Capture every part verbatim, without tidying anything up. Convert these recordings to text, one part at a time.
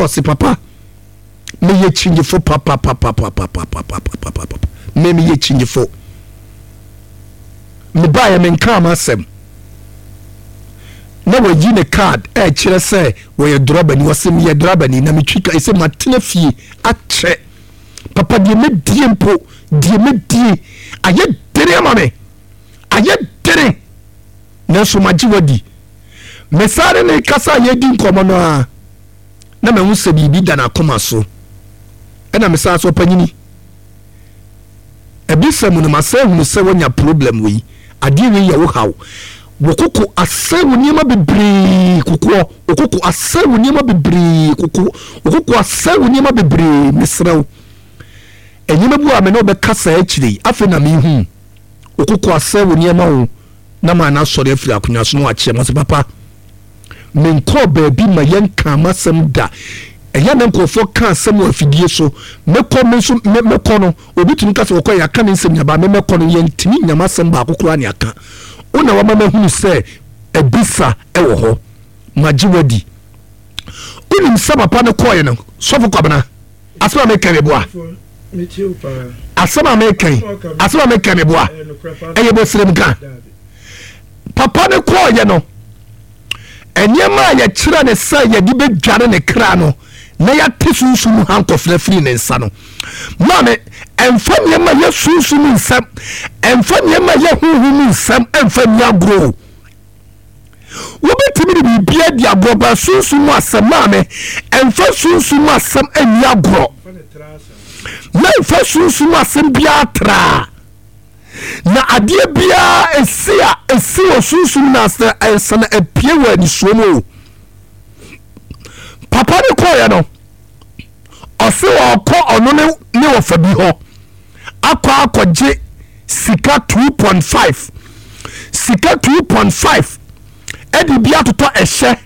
Ɔse papa, meyɛ kyinyefo papapapapapapapapapa, me meyɛ kyinyefo. Mebaeɛ menkaa m'asɛm na wayi ne card ɛkyerɛ sɛ wɔyɛ drɔbani. Ɔse meyɛ drɔbani na metwi ka, ɛsɛ matena fie akyɛ papa, deɛ mɛdie mpo, deɛ mɛdie ayɛ dene ama me, ayɛ dene, nanso magye wadi. Mesare ne kasa a yɛdi nkɔmmɔ no a, na mahu sɛ biribi da n'akoma so. Ɛna mesaa sɛ, ɔpanyini, ebisa mu no, masɛ hunu sɛ woanya problem wei, adeɛ wei yɛ wo haw, wo koko asɛ wo nneɛma bebree, kokoɔ wo koko asɛ wo nneɛma bebree, koko wo koko asɛ wo nneɛma bebree. Mesrɛ wo, nneɛma bi a me ne wobɛka saa akyire yi, afei na mehu wo koko asɛ wo nneɛma wo na maa no asɔre afiri akonnwa so na wakyerɛ mo sɛ, papa, menkɔɔ baabi ma yɛnka m'asɛm da. Ɛyɛ na nkurɔfoɔ ka asɛm wɔ afidie so. Mɛkɔ, me nso mɛkɔ no, obi tumi ka sɛ wɔkɔ, yɛaka ne nsɛm nyaba. Me mɛkɔ no, yɛntumi nyam asɛm baako koraa ne aka. Wo na wama mahunu sɛ ebisa ɛwɔ hɔ, magye wadi. Wonim sɛ papa no kɔɔɛ no, Sɔfo Kwabena, asɛm a meka meboa, asɛm a meka yi, asɛm a meka meboa, ɛyɛ bɔsirem ka. Papa no kɔɔyɛ no, nneɛma a yɛkyerɛ ne sɛ yɛde bɛdware ne kra no na yɛate sunsum hankɔfra firi ne nsa no, maame, ɛmfa nneɛma yɛ sunsum nsɛm, ɛmfa nneɛma yɛ honhom nsɛm, ɛmfa nni agorɔ. Wobɛtumi de biribi adi agorɔ ba sunsum mu asɛm, maame, ɛmfa sunsum mu asɛm anni agorɔ, mɛmfa sunsum mu asɛm biara traa. Na adeɛ biara esi a esi wɔ sunsum na asɛ ɛnsa na apue wɔ anisuo mu o. Papa ne kɔɔyɛ no, ɔse ɔkɔ ɔno ne ne wɔfa bi hɔ akɔ akɔgye sika two point five, sika two point five, ɛde bi atotɔ ɛhyɛ,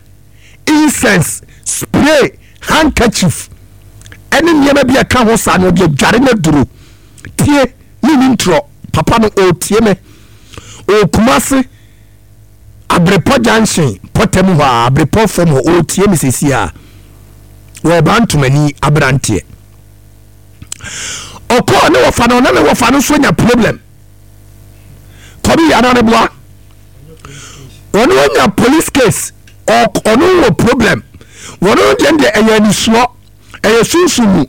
incense, spray, handkerchief ɛne nneɛma bi a ɛka ho saa na ɔde adware no aduro. Tie ne ni ntorɔ. Papa no ɔretie me, ɔɔkuma ase Abrepɔ Junction pɔtɛm hɔ a, Abrepɔ fam hɔ, ɔretie me sesi a wɔba ntomani aberanteɛ. Ɔkɔɔ ne wɔfa no, ɔne ne wɔfa no nso anya problem. Kɔbi yɛ anaa boa, ɔno anya police case, ɔno wɔ problem. Wɔno deɛ deɛ ɛyɛ anisuɔ, ɛyɛ sunsun mu.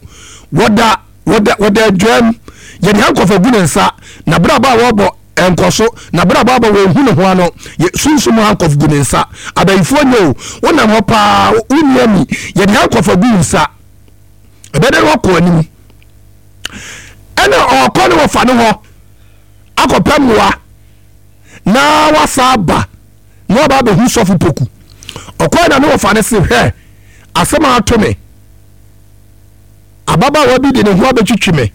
Wɔda wɔda wɔda adwam, yɛde hankɔfo gu ne nsa na berɛ a wɔbɔ nkɔ so na berɛ a wɔabɔ wɔn hu ne ho ano yɛ sunsun mu hankɔfo gu ne nsa. Abayifoɔ nyɛ o, wonam hɔ paa, wonni ani, yɛde hankɔfo gu nsa, ɛbɛdɛ no wakɔ anim. Ɛna ɔkɔ ne wɔfa ne hɔ akɔpɛ mmoa na wasa aba na waba abɛhu Sɔfo Poku. Ɔkɔɛ na ne wɔfa ne se, hwɛ asɛm a ato me, ababaawa bi de ne ho abɛtwitwi me.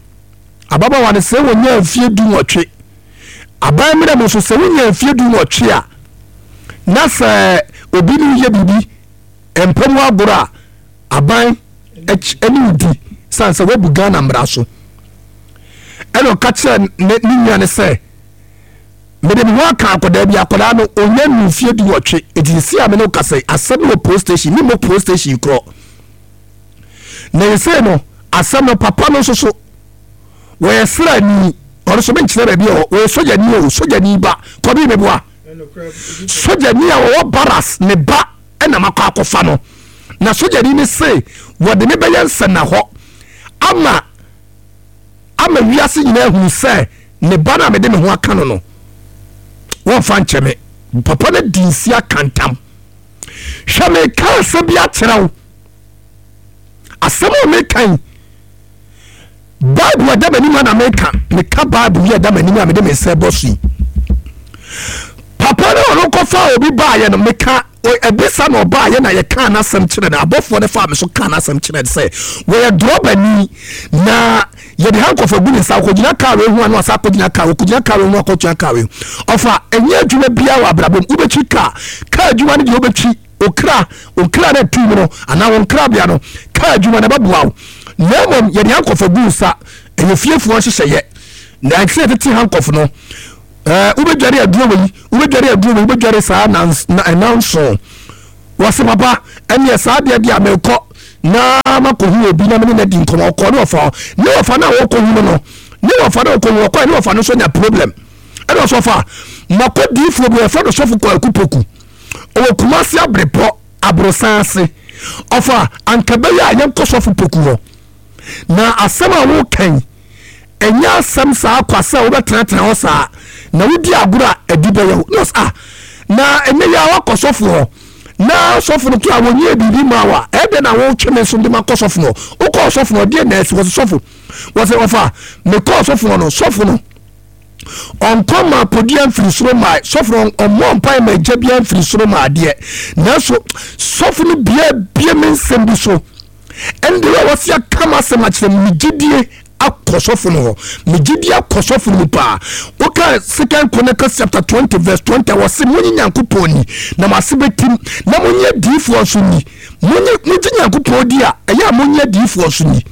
Ababaawa no sɛ wɔnya mfie du nwɔtwe. Aban mmerɛ mu nso, sɛ wonya mfie du nwɔtwe a, na sɛ obi ne yɛ biribi mpɛ mu agorɔ a, aban ɛne wo di san sɛ woabu Ghana mmara so. Ɛna ɔka kyerɛ ne ne nua ne sɛ, mede me ho aka akwadaa bi, akwadaa no ɔnya nu mfie du nwɔtwe. Eti si a me ne wo kasa yi, asɛm no wɔ police station ne mo police station korɔ. Na yɛsei no, asɛm no, papa no nso so wɔyɛ srani, ɔno nso menkyerɛ baabi a wɔyɛ sogyani o, sogyani ba. Kɔbi meboa, sogyani a wɔwɔ barracks ne ba ɛna makɔ akɔfa no. Na sogyani ne se wɔde ne bɛyɛ nsɛnna hɔ ama ama wiase nyinaa hunu sɛ ne ba no a mede me ho aka no no wɔmfa nkyɛ me. Papa no di nsi aka ntam. Hwɛ, meka asɛm bi akyerɛ wo, asɛm a meka yi, Bible ɛda m'anim a na meka, meka Bible yi ɛda m'anim a mede me nsa bɔ so yi. Papa no ɔno kɔfa obi baayɛ no, meka ɛbisa na ɔbaayɛ na yɛka n'asɛm kyerɛ no. Abɔfoɔ no faa me so ka n'asɛm kyerɛ no sɛ wɔyɛ drɔbani na yɛde hankɔfo agu ne nsa, akɔgyina kaa wei ho ano asa akɔgyina kaa, akɔgyina kaa wei ho, akɔgyina kaa wei. Ɔfa ɛnyɛ adwuma biara wɔ abrabɔ mu, wobɛtwi kaa, kaa adwuma no deɛ wobɛtwi okra okra no atu mu no anaa wɔn nkrabea no, kaa adwuma no ɛbɛboa wo. Na mmom yɛde hankɔfo agu nsa, ɛyɛ fiefoɔ nhyehyɛeɛ na ɛsɛ yɛtete hankɔfo no. ɛɛ wobɛdware aduro wei, wobɛdware aduro wei, wobɛdware saa nanson. Wɔsi papa, ɛneɛ saa deɛ deɛ mekɔ na Mekɔ ama kɔhu obi na mene no adi nkɔmmɔ. Ɔkɔ ne ɔfa hɔ, ne ɔfa no a wɔkɔhu no no, ne ɔfa no a ɔkɔhu, ɔkɔɛ ne ɔfa no nso nya problem. Ɛna ɔsɛ ɔfa makɔ diifoɔ bi, yɛfrɛ no Sɔfo Kwaku Poku, ɔwɔ Kumasi Abrepɔ aborosan ase. Ɔfa anka bɛyɛ a yɛnkɔ Sɔfo Poku hɔ, na asɛm a wokan ɛnyɛ asɛm saa kwa sɛ wobɛtenatena hɔ saa na wodi agorɔ a ɛdi bɛyɛ wo. Na ɔsɛ ah, na ɛnɛ yɛ a wakɔ sɔfo hɔ na sɔfo no koraa wɔnyɛɛ biribi maa wo a, ɛdɛn na wotwe me nso de makɔ sɔfo no hɔ? Wokɔɔ sɔfo no hɔ deɛ na asi? Wɔsɛ sɔfo, wɔsɛ ɔfa mekɔɔ sɔfo hɔ no, sɔfo no ɔnkɔ ma apɔdua mfiri soro ma sɔfo no, ɔmmɔ mpae ma agya biara mfiri soro ma adeɛ, nanso sɔfo no bia bie me nsɛm bi so. Ɛnde a wɔsi aka m'asɛm akyerɛ me, me gyidie akɔ sɔfo no hɔ, me gyidie akɔ sɔfo no mu paa. Woka Second Chronicles chapter twenty verse twenty a, wɔse monye Nyankopɔn ni na mo ase bɛtim, na monye adiyifoɔ nso ni. Monye, mogye Nyankopɔn di a, ɛyɛ a monye adiyifoɔ nso ni,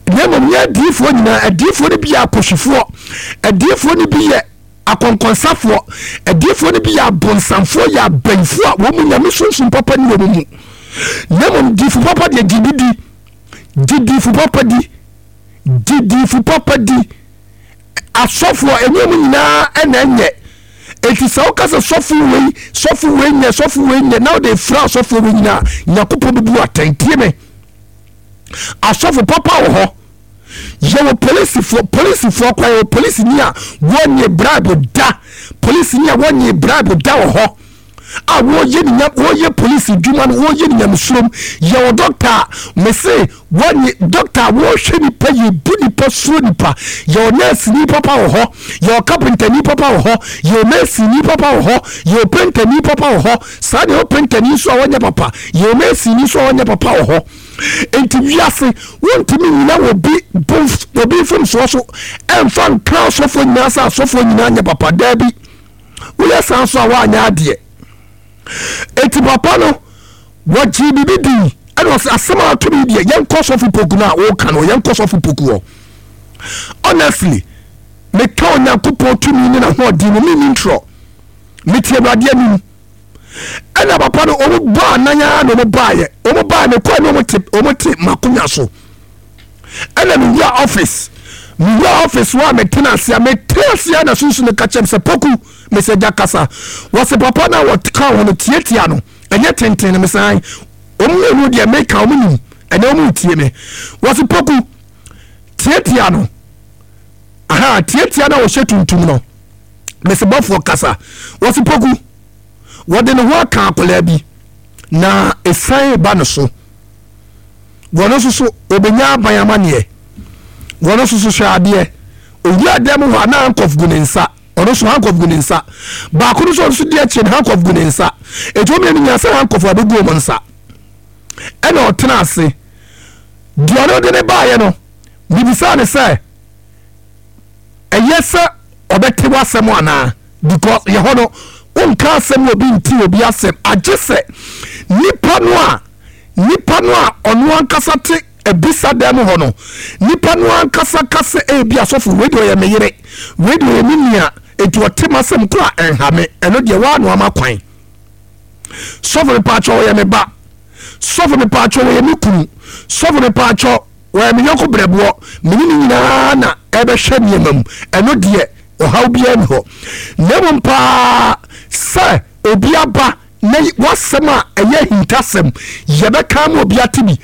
na mmom nyɛ adiyifoɔ nyinaa. Adiyifoɔ no bi yɛ akɔhwifoɔ, adiyifoɔ no bi yɛ akɔnkɔnsafoɔ, adiyifoɔ no bi yɛ abonsamfoɔ, yɛ abayifoɔ a wɔn mu nyame sunsum papa ni wɔn mu. Na mmom diyifo papa deɛ, gye bi di, gye diyifo papa di, gye diyifo papa di. Asɔfoɔ ɛnyɛ mu nyinaa ɛna ɛnyɛ. Eti sɛ woka sɛ sɔfo wei, sɔfo wei nyɛ, sɔfo wei nyɛ, na wode fira asɔfoɔ wei nyinaa, Nyankopɔn bɛbu atɛn. Tie me, asɔfo papa wɔ hɔ. Yɛwɔ polisifoɔ, polisifoɔ kora, yɛwɔ polisini a wɔnye bribe da, polisini a wɔnye bribe da wɔ hɔ a wɔyɛ ne nyam, wɔyɛ polisi dwuma no, wɔyɛ ne nyamesurom. Yɛwɔ dɔkta a mese wɔnye dɔkta a wɔhwɛ nipa, yɛbu nipa, suro nipa. Yɛwɔ nɛɛseni papa wɔ hɔ, yɛwɔ kapentani papa wɔ hɔ, yɛwɔ mɛsini papa wɔ hɔ, yɛwɔ pentani papa wɔ hɔ. Saa deɛ, yɛwɔ pentani nso a wɔnyɛ papa, yɛwɔ mɛsini nso a wɔnyɛ papa wɔ hɔ. Nti wiase wontumi nyina obi obi mfomsoɔ so ɛmfa nka asɔfoɔ nyinaa sɛ asɔfoɔ nyinaa nyɛ papa. Daabi, woyɛ saa nso a woanyɛ adeɛ. Enti papa no wɔgyee biribi dii, ɛna ɔsɛ asɛm a ato me deɛ, yɛnkɔ Sɔfo Poku no a woka no, yɛnkɔ Sɔfo Poku hɔ. Honestly, meka Onyankopɔn tumi ne n'ahoɔden mu, menni ntorɔ, mete Awurade anim. Ɛna papa no wɔn bɔ anan ara na wɔn baayɛ, wɔn baayɛ mekɔɛ ne wɔn te, wɔn te m'akonnwa so. Ɛna mewura office, mewura office hɔ a metena ase a metena ase a na sunsun no ka kyerɛ me sɛ Poku, mesɛ gya kasa. Wɔsɛ papa no a wɔka ho no tiatia no ɛnyɛ tenten no, mesan wɔn mmienu deɛ meka wɔn nim ɛnɛ wɔn tie me. Wɔsɛ Poku tiatia no, aha tiatia no a wɔhyɛ tuntum no. Mesɛ bɔfoɔ kasa. Wɔsɛ Poku, wɔde ne ho aka akwadaa bi na esan ba ne so, wɔn nso so obenya aban amaneɛ, wɔn nso so hwɛ adeɛ. Owura dɛm hɔ a na handcuff gu ne nsa, ɔno nso handcuff gu ne nsa, baako no nso ɔno nso di akyire no handcuff gu ne nsa. Etu wɔn mmienu nyinaa sɛ handcuff abɛgu wɔn nsa. Ɛna ɔtena ase deɛ ɔno de ne baayɛ no, bibisa ne sɛ ɛyɛ sɛ ɔbɛte w'asɛm anaa, because yɛ hɔ no wonka asɛm obi nti obi asɛm, agye sɛ nipa no a nipa no a ɔno ankasa te ebisa dan mu hɔ no, nipa no ankasa kasa. Ebi asɔfo wei deɛ ɔyɛ me yere, wei deɛ ɔyɛ me nua, etu ɔte m'asɛm kora ɛnha me, ɛno deɛ waa no ama kwan. Sɔfo mepaakyɛ ɔyɛ me ba, sɔfo mepaakyɛ ɔyɛ me kunu, sɔfo mepaakyɛ wɔyɛ me yɔnko brɛboɔ, mene ne nyinaa na ɛbɛhwɛ nneɛma mu, ɛno deɛ ɔhaw biara ni hɔ. Na mmom paa sɛ obi aba na wasɛm a ɛyɛ ahintasɛm yɛbɛka ma obi ate bi,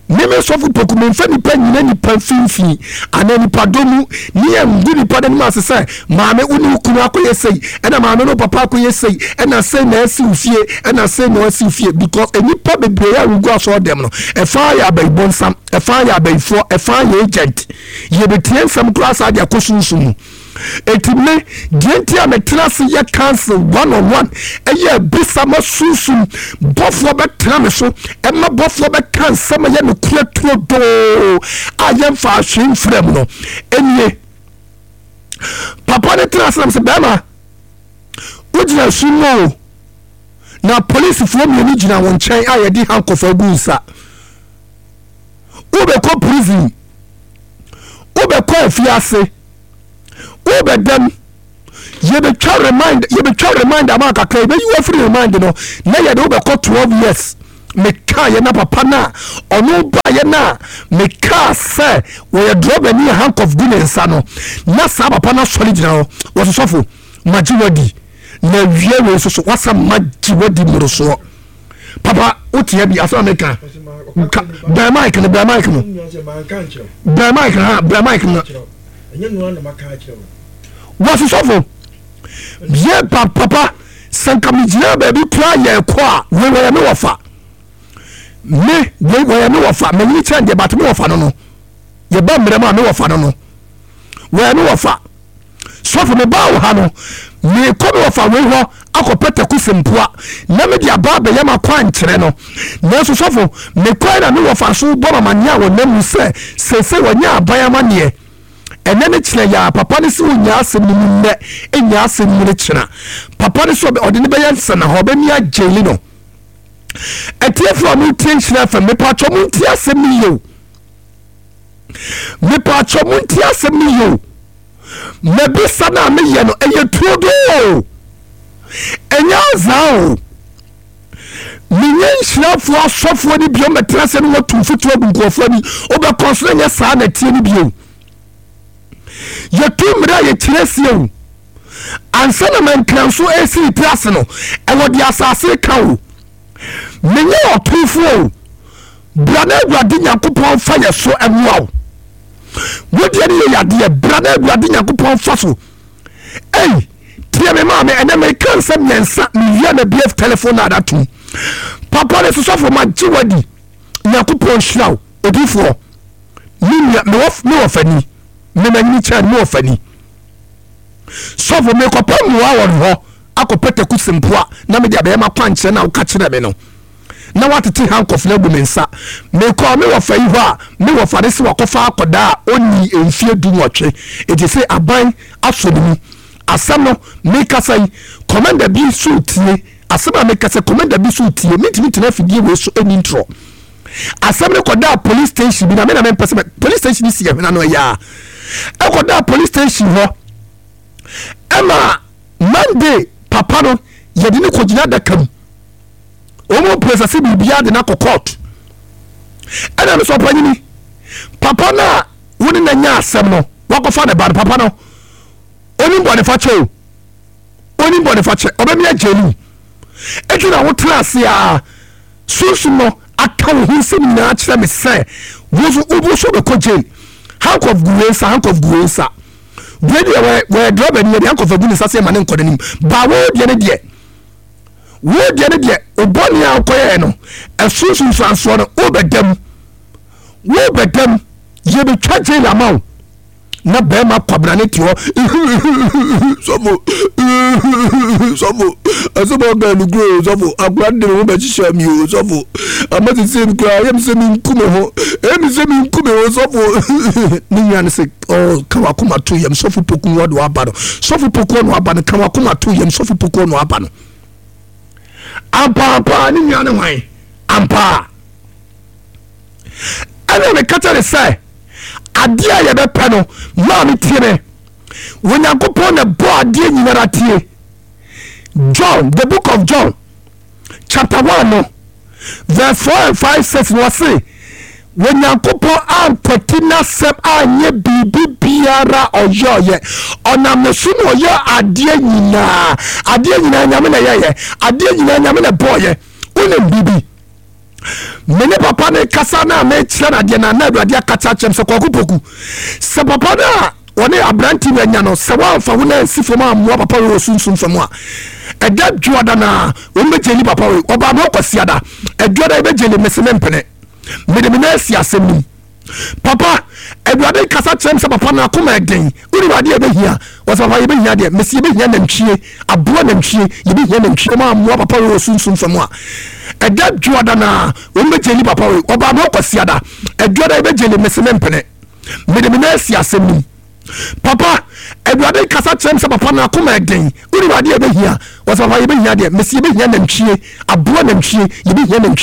meme Sɔfo Poku memfa nipa nyina nipa mfimfini anaa nipa dɔ mu ne yɛngu nipa no anim ase sɛ maame wo ne wo kunu akɔyɛ sei, ɛna maame no papa akɔyɛ sei, ɛna sei na asi wo fie, ɛna sei na asi wo fie, because nipa bebree a wogu asɔre dɛm no, ɛfa yɛ abayibonsam, ɛfa yɛ abayifoɔ, ɛfa yɛ agent. Yɛbɛtie nsɛm koraa saa de akɔ sunsun mu. Eti me deɛ nti a metena ase yɛ council one on one ɛyɛ abisa ma sunsum bɔfoɔ bɛtena me so, ɛma bɔfoɔ bɛka nsɛm a ɛyɛ nokorɛ turodoo a yɛmfa ahwee mfrɛ mu no ɛnie. Papa no tena ase nam sɛ bɛrima wogyina sum mu o, na polisifoɔ mmienu gyina wo nkyɛn a yɛde handcuff agu nsa, wobɛkɔ prison, wobɛkɔ afiase, wobɛdam, yɛbɛtwa remand, yɛbɛtwa remand ama kakra, yɛbɛyi wo afiri remand no na yɛde wobɛkɔ twelve years. Mekaeɛ na papa no a ɔno baeɛ no a mekaa sɛ wɔyɛ drɔbani a handcuff gu ne nsa no, na saa papa no asɔre gyina hɔ. Wɔse, sɔfo, magye wadi na awie wei nso so wasa magye wadi mmorosoɔ. Papa, wotea bi asɛm a meka. Bɛn mic no, bɛn mic no, bɛn mic no, ha bɛn mic no. Wɔse, sɔfo, yɛ pa papa, sɛ nka megyina baabi koraa yɛkɔ a, wei wɔyɛ me wɔfa, me wei wɔyɛ me wɔfa, manyini kyɛn deɛ, but me wɔfa no no yɛba mmerɛ mu a, me wɔfa no no wɔyɛ me wɔfa. Sɔfo, mebaa wo ha no, meekɔ me wɔfa wei hɔ akɔpɛ taku sempoa na mede aba abɛyɛ ma kwankyerɛ no. Nanso sɔfo, mekɔɛ na me wɔfa so bɔ mamanneɛ a wɔnam mu sɛ seesei wɔnyɛ aban amanneɛ ɛnɛ ne kyerɛ yɛ a, papa no sɛ ɔnya asɛm no mu nnɛ, ɛnya asɛm mu no kyena. Papa no sɛ ɔde ne bɛyɛ nsɛna hɔ, ɔbɛmi agyeli no. Atiefoɔ a motie Nhyira F M, mepatwɔ montie asɛm no yie o, mepatwɔ montie asɛm no yie o. Mabisa no a meyɛ no ɛyɛ turodoo, ɛnyɛ azaa o. Menyɛ nhyirafoɔ asɔfoɔ no bio mɛtena sɛ no wɔtu mfotuo agu nkurɔfoɔ ani, wobɛkɔ so na nyɛ saa na tie no bio. Yɛtu mmerɛ a yɛkyerɛ sie o, ansa na mankra nso ɛsi ne tiri ase no, ɛwɔ deɛ asase ka o. Menyɛ ɔtomfoɔ o. Bra na Awurade Nyankopɔn fa yɛ so ɛmoa wo. Wodeɛ no yɛ yadeɛ, bra na Awurade Nyankopɔn fa so. Ei, tie me maame, ɛnɛ meka nsɛm mmiɛnsa, mewie na bf telephone na adatom. Papa ne sosɔfo, magye wadi, Nyankopɔn nhyira wo. Odifoɔ, me nua, me wɔ fani, me manyini kyɛn me wɔ fani. Sɔfo, mekɔpɛ mmoa wɔ hɔ akɔpɛ taku sempoa na mede abɛyɛ makwankyerɛ na woka kyerɛ me no na watete handcuff no agu me nsa. Mekɔɔ me wɔfa yi hɔ a, me wɔfa ne sɛ wakɔfa akɔdaa a ɔnni mfie du nwɔtwe, ɛti sɛ aban asɔ ne mu. Asɛm no mekasa yi, commander bi so tie asɛm a mekasa, commander bi so tie. Mentumi tena afidie wei so ɛni ntorɔ. Asɛm no kɔdaa police station bi na me na mempɛ sɛ police station si ɛhwena no ɛyɛ a ɛkɔdaa police station hɔ ɛma Monday papa no yɛde ne kɔgyina adaka mu, wɔn process biribiara de no akɔ court. Ɛna no sɛ ɔpanyini papa no a wo ne na nya asɛm no wakɔfa ne ba no, papa no onim bɔne fakyɛ o, onim bɔne fakyɛ, ɔbɛmi agye no. Eti na wotena ase a sunsun no aka wo ho nsɛm nyinaa kyerɛ me sɛ wo nso wo so bɛkɔ jail. Handcuff gu wei nsa, handcuff gu wei nsa. Wei deɛ wɔyɛ wɔyɛ driver ni, yɛde handcuff agu ne nsa sɛ ɛma ne nkɔ n'anim baa. Wo deɛ ne deɛ, wo deɛ ne deɛ, obɔne a wokɔyɛɛ no, ɛso nsunsuansoɔ no wobɛdam, wobɛdam, yɛbɛtwa jail ama wo. Na bɛrima kwabena ne te hɔ, sɔfo, sɔfo, asɛm a ɔka no kuro, sɔfo, akora de me ho bɛhyehyɛ mi o. Sɔfo, ama sese mi koraa ɛyɛ mi sɛ mi nku me ho, ɛyɛ mi sɛ mi nku me ho. Sɔfo, ne nua no sɛ ɔ ka wakoma to yam. Sɔfo Poku ɔde waba no, sɔfo Poku ɔno aba no, ka wakoma to yam. Sɔfo Poku ɔno aba no ampaampa. Ne nua no hwan ampa ɛna meka kyerɛ ne sɛ adeɛ a yɛbɛpɛ no, maame, tie me. Onyankopɔn na bɔ adeɛ nyinara. Tie John, the Book of John chapter one no verse four and five six no, ɔse Onyankopɔn ankwati n'asɛm anyɛ biribi biara. Ɔyɛ ɔyɛ ɔnam ne so na ɔyɛ adeɛ nyinaa. Adeɛ nyinaa Nyame na ɛyɛyɛ, adeɛ nyinaa Nyame na ɛbɔɔyɛ. Wonim biribi, me ne papa ne kasa na mekyerɛ no adeɛ na na Awurade akata kyerɛm sɛ Kwaku Poku, sɛ papa no a wɔne aberante wanya no, sɛ woamfa wo no ansi fam ammoa papa wei wɔ sunsum fam a, ɛda dwoada no a wɔmbɛgyeli papa wei. Ɔbaa me ɔkwasiada, ɛdwoada yɛbɛgyeli. Mese mempene, mede me na asi asɛm no mu. Papa, Awurade kasa kyerɛ m sɛ papa no akoma ɛden. Wonim adeɛ yɛbɛhia? Wɔsɛ papa yɛbɛhia deɛ, mesi yɛbɛhia nantwie, aboa nantwie, yɛbɛhia nantwie ɔma ammoa papa wei wɔ sunsum fam a, ɛda dwoada no a wɔmbɛgyeli papa wei. Ɔbaa me ɔkwasiada, ɛdwoada yɛbɛgyeli. Mese mempene, mede me na asi asɛm no mu. Papa, Awurade kasa kyerɛ m sɛ papa no akoma ɛden. Wonim adeɛ yɛbɛhia? Wɔsɛ papa yɛbɛhia deɛ, mesi yɛbɛhia nantwie, aboa nantwie, yɛbɛhia nantwie.